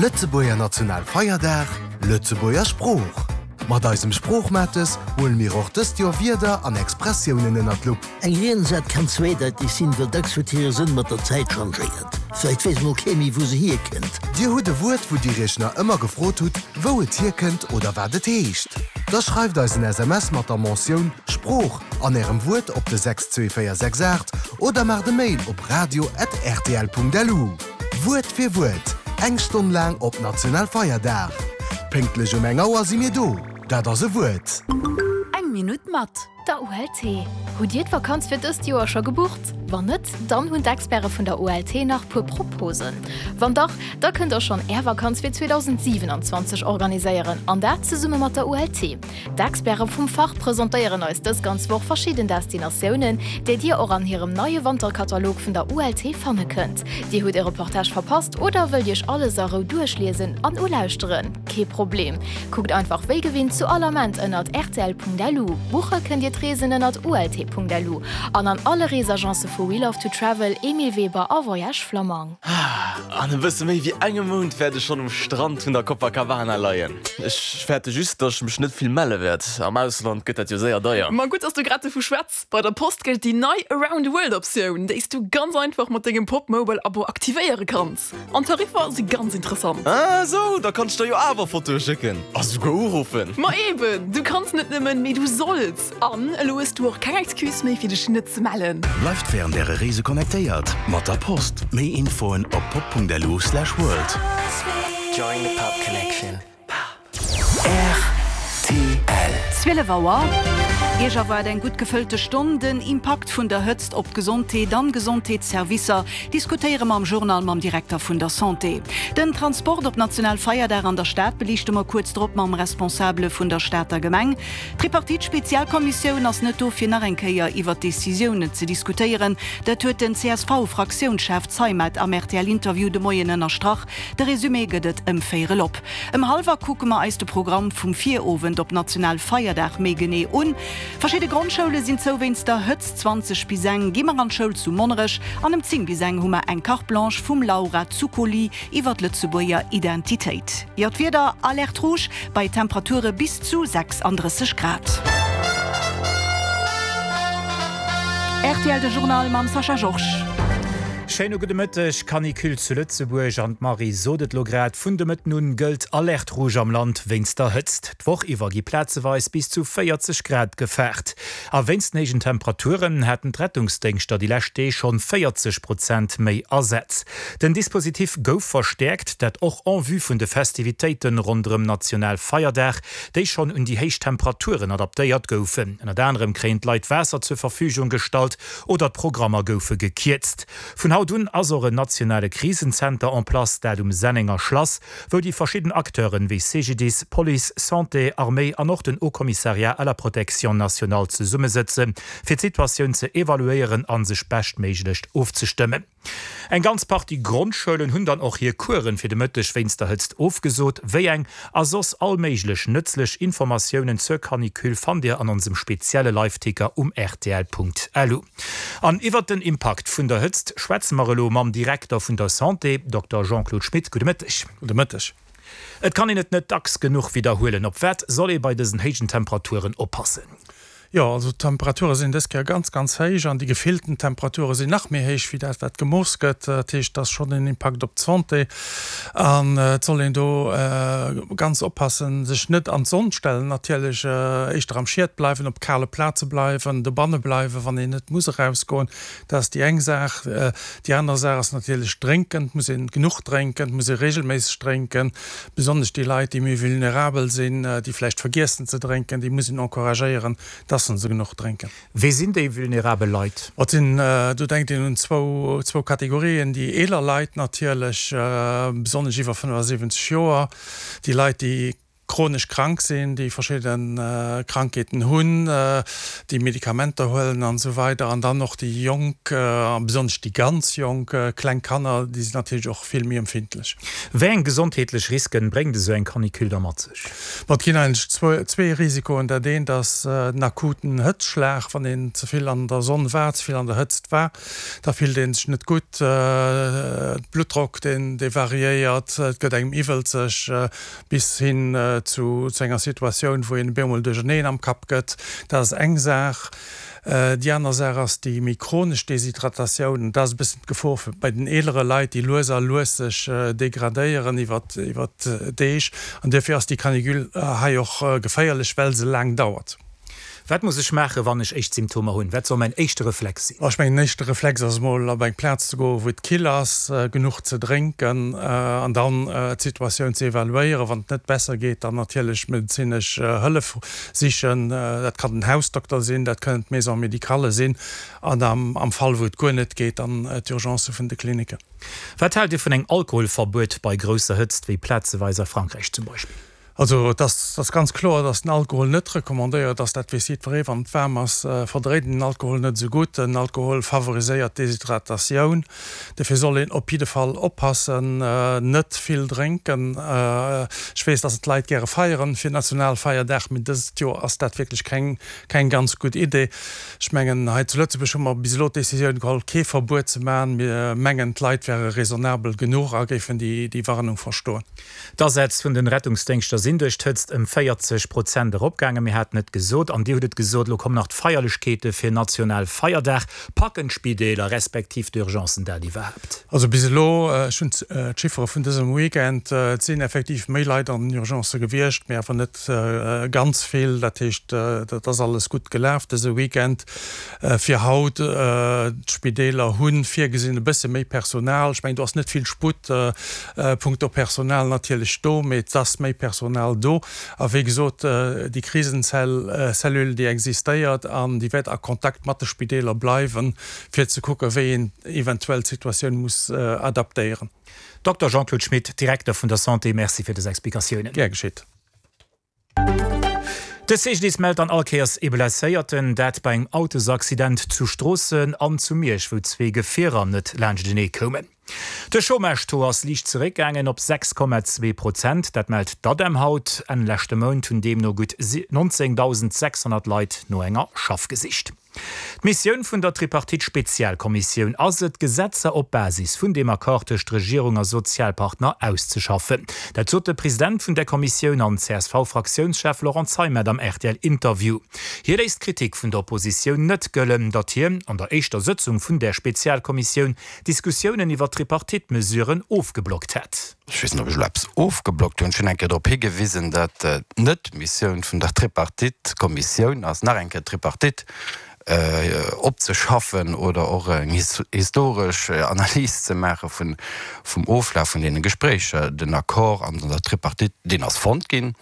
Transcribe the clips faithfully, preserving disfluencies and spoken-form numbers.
Lëtzebuerger Nationalfeierdag, Lëtzebuerger Sprooch. Mat eisem Sproochmates huele mir och dëst Joer Wierder an Expressiounen ënnert d'Lupp. Eng Riensäit kann zweedeiteg sinn, well dacks huet hire Sënn mat der Zäit changéiert. Vläicht weess mol kee méi, wou se hierkënnt. Dir hutt e Wuert, wou Dir Iech nach ëmmer gefrot hutt, wou et hierkënnt oder wat et heescht? Da schreift eis en S M S mat der Mentioun Sprooch an Ärem Wuert op de sechs zwee véier sechs aacht oder maacht e Mail op radio at rtl punkt lu. Wuert fir Wuert, eng Stonn laang op Nationalfeierdag. Pénktlech um eng Auer si mir do. Dat ass e Wuert. Eng Minutt mat der U L T. Hutt Dir d'Vakanz fir dëst Joer scho gebucht? Wann net, dann hunn d'Experte vun der U L T nach puer Proposen. Wann dach, da kënnt der schonn Är Vakanz fir zweedausendsiewenundzwanzeg organiséieren an dat zesumme mat der U L T. D'Experte vum Fach presentéieren eis dës ganz Woch verschidden Destinatiounen, déi Dir och an hirem neie Wanterkatalog vun der U L T fanne kënnt. Dir hutt e Reportage verpasst oder wëllt Iech alles a Rou duerchliesen an ulauschteren? Kee Problem. Kuckt einfach wéi gewinnt zu all Ament ënnert R T L punkt L U. Buche kënnt Dir d'Reesen ënnert U L T punkt L U an an alle Reesagencë vu We Love to Travel, Emile Weber a Voyage Flammang. An e bësse méi wéi engem Mount wäert ech schonn um Strand vun der Copacabana leien. Ech fäerte just, datt ech mech net vill melle wäert. Am Ausland gëtt dat jo séier deier. Ma gutt, dass du grad dovu schwätz. Bei der Post gëllt déi nei Around the World Optioun, déi s du ganz einfach mat dengem Popmobile-Abo aktivéiere kanns. An d'Tariffer si ganz interessant. Ah sou, da kann ech der jo awer Fotoe schécken a souguer uruffen. Ma eben, du kanns net nëmmen, mee du solls. An elo hues du och keng Excuse méi, fir dech net ze mellen. Bleift wärend äre Reese connectéiert mat der Post. Méi Infoen op pop punkt lu slash world. Join the Pop Connection. R T L. Zwielef Auer. Iech erwaart eng gutt gefëllte Stonn. Den Impakt vun der Hëtzt op d'Gesondheet an Gesondheetsservicer diskutéiere mer am Journal mam Direkter vun der Santé. Den Transport op Nationalfeierdag an der Stad beliichte mer kuerz drop mam Responsabele vun der Stater Gemeng. D'Tripartite-Spezialkommissioun ass net do fir nach eng Kéier iwwer Decisiounen ze diskutéieren. Dat huet den C S V-Fraktiounschef Zeimet am R T L-Interview de Moien ënnerstrach. De Resumé gëtt et ëm véierel op. Ëm hallwer kucke mer eis de Programm vum Virowend op Nationalfeierdag méi genee un. Verschidde Grondschoule sinn zou wéinst der Hëtzt. Zwanzeg bis eng gi mer an d'Schoul zu Monnerech an ëm zéng bis eng hu mer eng Carte Blanche vum Laura Zuccoli iwwer d'Lëtzebuerger Identitéit. Jo, d'Wieder Alerte rouge bei Temperature bis zu sechsundrësseg Grad. R T L de Journal mam Sascha Georges. Schéine gudde Mëtteg, Canicule zu Lëtzebuerg an d'Marie sot et lo grad, vun de Mëtten un gëllt Alerte rouge am Land wéinst der Hëtzt. D'Woch iwwer gi plazeweis bis zu véierzeg Grad gefaart. A wéinst den héijen Temperaturen haten d'Rettungsdéngschter déi lescht Deeg schonn véierzeg Prozent méi Asätz. Den Dispositif gouf verstäerkt, dat och en vue vun de Festivitéiten ronderëm Nationalfeierdag, déi schonn un déi héich Temperaturen adaptéiert goufen. Ënnert anerem kréien d'Leit Waasser zur Verfügung gestallt oder d'Programmer goufe gekierzt. Vun haut un ass och en nationale Krisenzenter en place, dat um Sennenger Schlass, wou déi verschidden Acteuren wéi C G D I S, Police, Santé, Arméi an och den Haut-Commissariat à la Protection nationale zesummesëtzen, fir d'Situatioun ze evaluéieren an sech beschtméiglech ofzestëmmen. Eng ganz Partie Grondschoulen hunn dann och hir Kueren fir de Mëtteg wéinst der Hëtzt ofgesot, wéi eng a soss allméiglech nëtzlech Informatiounen zur Canicule fannt Dir an onsem spezielle Live-Ticker um R T L punkt L U. An iwwer den Impakt vun der Hëtzt schwätze mer elo mam Direkter vun der Santé, Dokter Jean-Claude Schmit. Gudde Mëtteg. Gudde Mëtteg. Et kann een et net dacks genuch wiederhuelen. Op wat soll ee bei dësen héijen Temperaturen oppassen? Jo, also d'Temperature sinn dës Kéier ganz, ganz héich an déi gefillten Temperature sinn nach méi héich wéi dat, wat gemooss gëtt. Dat heescht, dat ass schonn en Impakt op d'Santé. An et soll een do, äh, ganz oppassen, sech net an d'Sonn stellen, natierlech, äh, éischter am Schiet bleiwen, op kale Plaze bleiwen, dobanne bleiwen, wann een net muss erausgoen. Dat ass déi eng Saach. Äh, déi aner Saach ass natierlech drénken. Et muss een genuch drénken, et muss ee regelméisseg drénken. Besonnesch déi Leit, déi méi vulnerabel sinn, äh, déi vläicht vergiessen ze drénken, déi muss een encouragéieren, dass se genuch drénken. Wie sinn déi vulnerabel Leit? Et sinn, äh, do denkt een un zwou, zwou Kategorien, déi eeler Leit natierlech, äh, besonnesch iwwer fënnefundsiwwenzeg Joer, déi Leit, déi chronesch krank sinn, déi verschidde Krankheeten hunn, déi Medikamenter huelen an esou weider. An dann och déi Jonk, a besonnesch déi ganz Jonk, kleng Kanner, déi sinn natierlech och vill méi empfindlech. Wéi eng gesondheetlech Risken bréngt esou eng Canicule da mat sech? Bon, et ginn eigentlech zwee Risikoen. Dat eent ass den akuten Hëtzschlag, wann een ze vill an der Sonn war, ze vill an der Hëtzt war, da fillt ee sech net gutt, de Bluttdrock deen variéiert, et gëtt engem iwwelzeg, bis hin zu enger Situatioun, wou een op eemol duercherneen am Kapp gëtt. Dat ass eng Saach. Déi aner Saach ass déi méi chronesch Deshydratatioun. An dat ass e bëssen d'Gefor fir bei den eelere Leit, déi lues a lues sech degradéieren iwwer d'Deeg. An duerfir ass déi Canicule hei och geféierlech, well se laang dauert. Wat muss ech maachen, wann ech éischt Symptomer hunn? Wat soll mäin éischte Reflex sinn? Ech mengen, den éischte Reflex ass emol op eng Plaz ze goen, wou et kill ass, genuch ze drénken an dann d'Situatioun ze evaluéieren. Wann et net besser geet, dann natierlech medezinesch Hëllef sichen. Dat kann den Hausdokter sinn, dat kënnen d'Maisons médicales sinn an am Fall, wou et guer net geet, dann d'Urgencë vun de Klinicken. Wat haalt Dir vun engem Alkoholverbuet bei grousser Hëtzt, wéi plazeweis a Frankräich zum Beispill? Also et ass ganz kloer, datt den Alkohol net recommandéiert ass. Dat weess jiddweree, wann et waarm ass, verdréit een den Alkohol net esou gutt. Den Alkohol favoriséiert d'Deshydratatioun. Dofir soll een op jidde Fall oppassen, net vill drénken. Ech weess, datt d'Leit gäre feieren fir Nationalfeierdag, mee dëst Joer ass dat wierklech keng keng ganz gutt Idee. Ech mengen, hei zu Lëtzebuerg hu mer bis elo d'Decisioun geholl, kee Verbuet ze maachen. Mir mengen, d'Leit wäre raisonnabel genuch a géifen déi Warnung verstoen. D'Asätz vun den Rettungsdéngschter sinn duerch d'Hëtzt ëm véierzeg Prozent eropgaangen. Mir haten et gesot an Dir hutt et gesot, elo kommen nach d'Feierlechkeete fir Nationalfeierdag. Packen d'Spideeler respektiv d'Urgencen dat iwwerhaapt? Also bis elo, ech hunn d'Chiffere vun dësem Weekend, et sinn effektiv méi Leit an den Urgencë gewiescht, mee awer net ganz vill. Dat heescht, dat ass alles gutt gelaf dëse Weekend. Fir haut, d'Spideeler hu virgesinn e bësse méi Personal. Ech mengen, do ass net vill Sputt punkto Personal natierlech do, mee et ass méi Personal do. A wéi gesot, déi Krisenzell-Cellule, déi existéiert an déi wäert a Kontakt mat de Spideeler bleiwen, fir ze kucken, wéi een eventuell d'Situatioun muss adaptéieren. Dokter Jean-Claude Schmit, Direkter vun der Santé, Merci fir dës Explikatiounen. Gär geschitt. De C G D I S mellt an all Kéiers ee Blesséierten, dat bei engem Autosaccident zu Stroossen an zu Miersch, wou zwee Gefierer net laanschtenee koumen. De Chômage-Taux ass liicht zeréckgaangen op sechs Komma zwee Prozent, dat mellt d'ADEM haut. Enn leschte Mount hunn deemno gutt nonzéngtausendsechshonnert Leit no enger Schaff gesicht. D'Missioun vun der Tripartite-Spezialkommissioun ass et, Gesetzer op Basis vun deem Accord tëscht Regierung a Sozialpartner auszeschaffen. Dat sot de President vun där Kommissioun an C S V-Fraktiounschef Laurent Zeimet am R T L-Interview. Hie léisst d'Kritik vun der Oppositioun net gëllen, datt hien an der éischter Sëtzung vun där Spezialkommissioun Diskussiounen iwwer Tripartite-Mesuren ofgeblockt hätt. Ech weess net, ob ech elo eppes ofgeblockt hunn. Ech hunn eng Kéier drop higewisen, datt et net d'Missioun vun der Tripartite-Kommissioun ass, nach eng Kéier d'Tripartite opzeschaffen oder och eng historesch Analys ze maache vun, vum Oflaf vun deene Gespréicher. Den Accord an der Tripartite, deen ass fonnt ginn,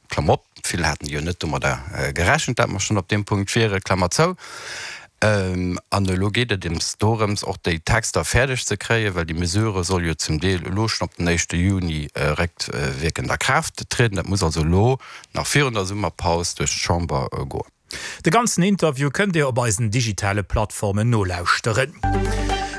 Klammer op, vill haten jo net domadder gerechent, dat mer schonn op deem Punkt wieren, Klammer zou. An elo geet et ems dorëms, och déi Texter fäerdeg ze kréien, well déi Mesure soll jo zum Deel elo schonn op den éischte Juni réckwierkend a Kraaft trieden. Dat muss also elo nach virun der Summerpaus duerch d'Chamber goen. De ganzen Interview kënnt Dir op eisen digitale Plattformen nolauschteren.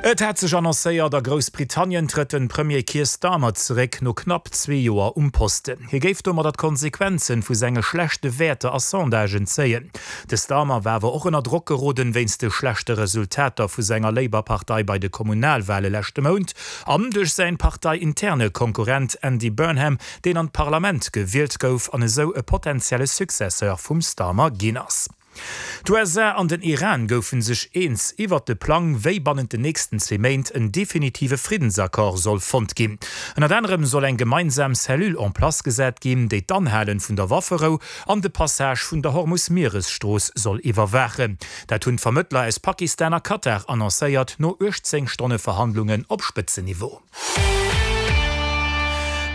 Et hat sech annoncéiert, a Groussbritannien trëtt den Premier Keir Starmer zeréck, no knapp zwee Joer um Posten. Hie géif domadder d'Konsequenzen vu senge schlechte Wäerter a Sondagen zéien. De Starmer war awer och ënner Drock geroden wéinst de schlechte Resultater vu senger Labour-Partei bei de Kommunalwale leschte Mount an duerch säin parteiinterne Konkurrent Andy Burnham, deen an d'Parlament gewielt gouf an esou e potentielle Successeur vum Starmer ginn ass. D'U S A an den Iran goufen sech eens iwwert de Plang, wéi bannent den nächsten zwee Méint en definitive Friddensaccord soll fonnt ginn. Ënnert anerem soll eng gemeinsam Cellule en place gesat ginn, déi d'Anhalen vun der Wafferou an de Passage vun der Hormus-Mieresstrooss soll iwwerwaachen. Dat hunn d'Vermëttler aus Pakistan a Katar annoncéiert, no uechtzéng Stonne Verhandlungen op Spëtzenniveau.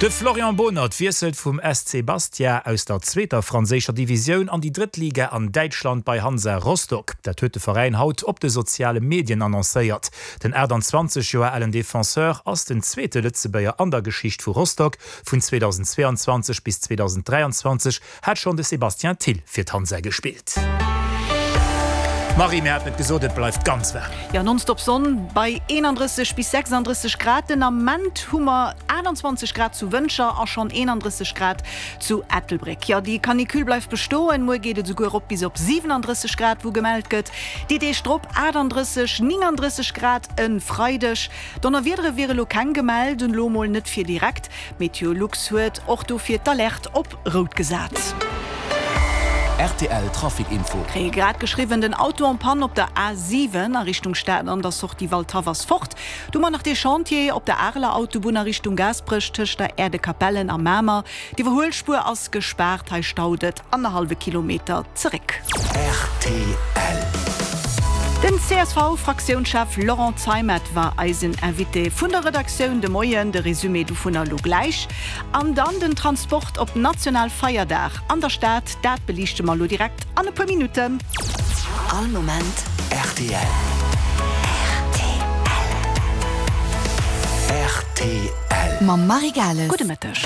De Florian Bohnert wiesselt vum S C Bastia aus der zweeter franséischer Divisioun an déi drëtt Liga an Däitschland bei Hansa Rostock. Dat huet de Veräin haut op de soziale Medien annoncéiert. Den achttanzwanzeg Joer alen Defenseur ass den zweete Lëtzebuerger an der Geschicht vu Rostock. Vun zweedausendzweeanzwanzeg bis zweedausenddräianzwanzeg hat schonn de Sébastien Thill fir d'Hansa gespillt. Marie, mir haten et gesot, et bleift ganz waarm. Jo, nonstop Sonn bei eenandrësseg bis sechsandrësseg Grad. Den Ament hu mer aachtanzwanzeg Grad zu Wëntger a schonn eenandrësseg Grad zu Ettelbréck. Jo, déi Canicule bleift bestoen. Muer geet et esouguer erop bis op siwenandrësseg Grad, wou gemellt gëtt. Déi Deeg drop achtandrësseg, néngandrësseg Grad e Freideg. Donnerwiedere wiere lo keng gemellt, elo mol net fir direkt. Meteolux huet och dofir d'Alerte op rout gesat. Rtl Trafic Info. Kréie grad geschriwwen, den Auto en panne op der A siwen a Richtung Stad an der Sortie Waldhaff ass fort. Du mer nach dee Chantier op der Areler Autobunn a Richtung Gaasperech tëscht der Aire de Capellen a Mamer. D'Iwwerhuelspuer ass gespaart, hei staut et annerhallwe Kilometer zeréck. Rtl. Den C S V-Fraktiounschef Laurent Zeimet war eisen Invité vun der Redaktioun de Moien. De Resumé dovunner elo gläich. An dann den Transport op Nationalfeierdag an der Stad, dat beliichte mer elo direkt an e puer Minutten. All Moment rtl. Rtl. Mam Marie Gales. Gudde Mëtteg.